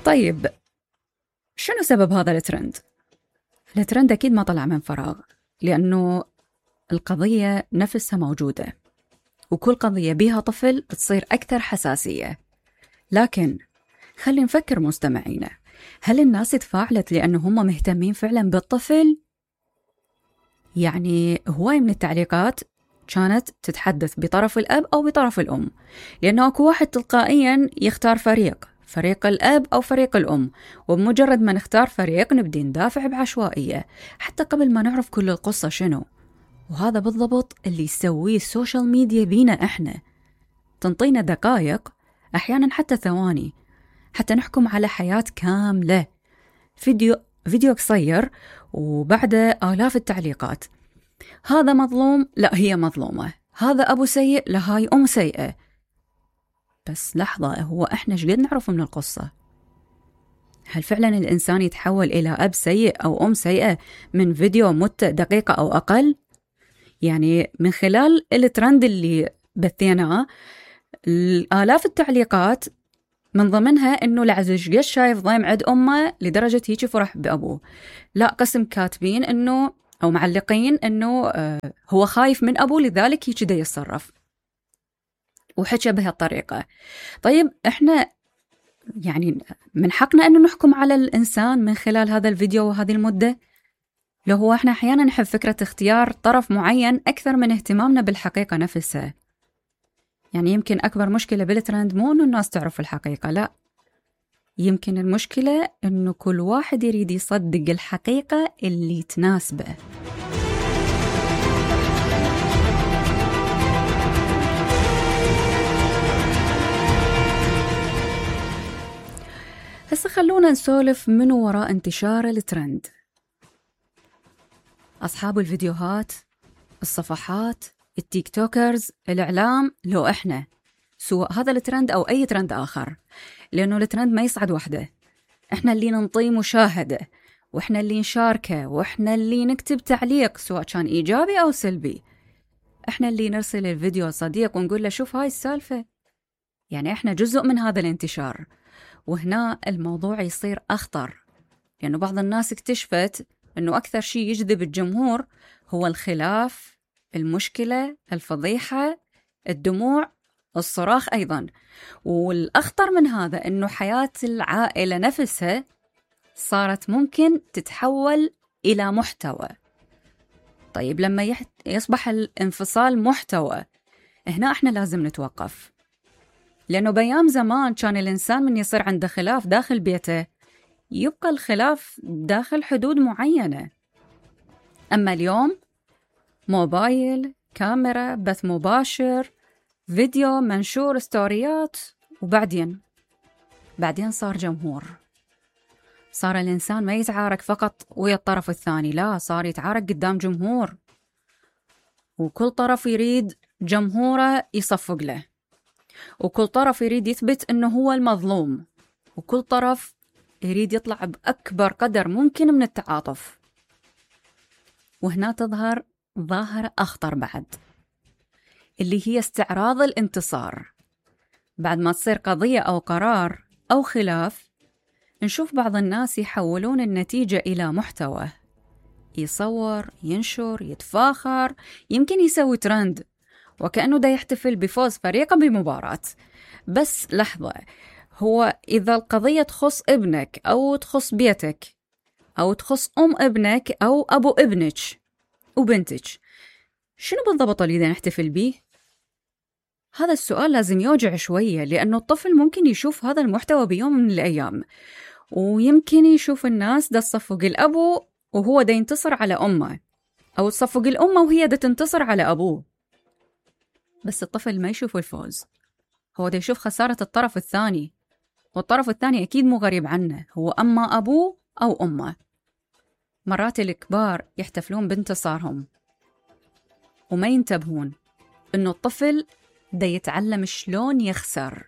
طيب، شنو سبب هذا الترند؟ الترند أكيد ما طلع من فراغ، لأنه القضية نفسها موجودة، وكل قضية بيها طفل تصير أكثر حساسية. لكن خلي نفكر مستمعينا، هل الناس تفاعلت لأنه هم مهتمين فعلا بالطفل؟ يعني هواي من التعليقات كانت تتحدث بطرف الأب أو بطرف الأم، لأنه أكو واحد تلقائيا يختار فريق الأب أو فريق الأم، وبمجرد ما نختار فريق نبدي ندافع بعشوائية حتى قبل ما نعرف كل القصة شنو. وهذا بالضبط اللي يسويه السوشيال ميديا بينا إحنا، تنطينا دقائق أحيانا حتى ثواني حتى نحكم على حياة كاملة. فيديو قصير وبعده آلاف التعليقات، هذا مظلوم، لا هي مظلومة، هذا أبو سيء، لا هاي أم سيئة. بس لحظة، هو إحنا شقد نعرف من القصة؟ هل فعلا الإنسان يتحول إلى أب سيء أو أم سيئة من فيديو مدة دقيقة أو أقل؟ يعني من خلال الترند اللي بثيناه آلاف التعليقات، من ضمنها إنه العزيز قش شايف ضيم عند أمه لدرجة هيك فرح بأبوه. لا، قسم كاتبين إنه أو معلقين إنه هو خايف من أبوه لذلك هيك دا يتصرف، وحكى بهالطريقة. طيب إحنا يعني من حقنا أنه نحكم على الإنسان من خلال هذا الفيديو وهذه المدة؟ لو هو إحنا أحيانا نحب فكرة اختيار طرف معين أكثر من اهتمامنا بالحقيقة نفسها. يعني يمكن أكبر مشكلة بالترند مو أنه الناس تعرف الحقيقة، لا، يمكن المشكلة أنه كل واحد يريد يصدق الحقيقة اللي تناسبه. هسه خلونا نسولف من وراء انتشار الترند. أصحاب الفيديوهات، الصفحات، التيك توكرز، الإعلام، لو إحنا، سواء هذا الترند أو أي ترند آخر، لأنه الترند ما يصعد وحده. إحنا اللي ننطي مشاهدة، وإحنا اللي نشاركه، وإحنا اللي نكتب تعليق سواء كان إيجابي أو سلبي. إحنا اللي نرسل الفيديو صديق ونقول له شوف هاي السالفة. يعني إحنا جزء من هذا الانتشار. وهنا الموضوع يصير أخطر، لأنه بعض الناس اكتشفت أنه أكثر شيء يجذب الجمهور هو الخلاف، المشكلة، الفضيحة، الدموع، الصراخ أيضا. والأخطر من هذا أنه حياة العائلة نفسها صارت ممكن تتحول إلى محتوى. طيب لما يصبح الانفصال محتوى، هنا احنا لازم نتوقف، لأنه بيام زمان كان الإنسان من يصير عنده خلاف داخل بيته يبقى الخلاف داخل حدود معينة. أما اليوم موبايل، كاميرا، بث مباشر، فيديو، منشور، ستوريات، وبعدين صار جمهور. صار الإنسان ما يتعارك فقط ويا الطرف الثاني، لا، صار يتعارك قدام جمهور، وكل طرف يريد جمهوره يصفق له، وكل طرف يريد يثبت أنه هو المظلوم، وكل طرف يريد يطلع بأكبر قدر ممكن من التعاطف. وهنا تظهر ظاهرة أخطر بعد، اللي هي استعراض الانتصار. بعد ما تصير قضية أو قرار أو خلاف، نشوف بعض الناس يحولون النتيجة إلى محتوى، يصور، ينشر، يتفاخر، يمكن يسوي ترند وكأنه دا يحتفل بفوز فريقه بمباراة. بس لحظة، هو إذا القضية تخص ابنك أو تخص بيتك أو تخص أم ابنك أو أبو ابنك وبنتك، شنو بالضبط اللي دا نحتفل بيه؟ هذا السؤال لازم يوجع شوية، لأنه الطفل ممكن يشوف هذا المحتوى بيوم من الأيام، ويمكن يشوف الناس دا تصفق الأبو وهو دا ينتصر على أمه، أو تصفق الأمة وهي دا تنتصر على أبوه. بس الطفل ما يشوف الفوز، هو دا يشوف خسارة الطرف الثاني، والطرف الثاني أكيد مو غريب عنه، هو أما أبوه أو أمه. مرات الكبار يحتفلون بانتصارهم وما ينتبهون إنه الطفل دا يتعلم شلون يخسر.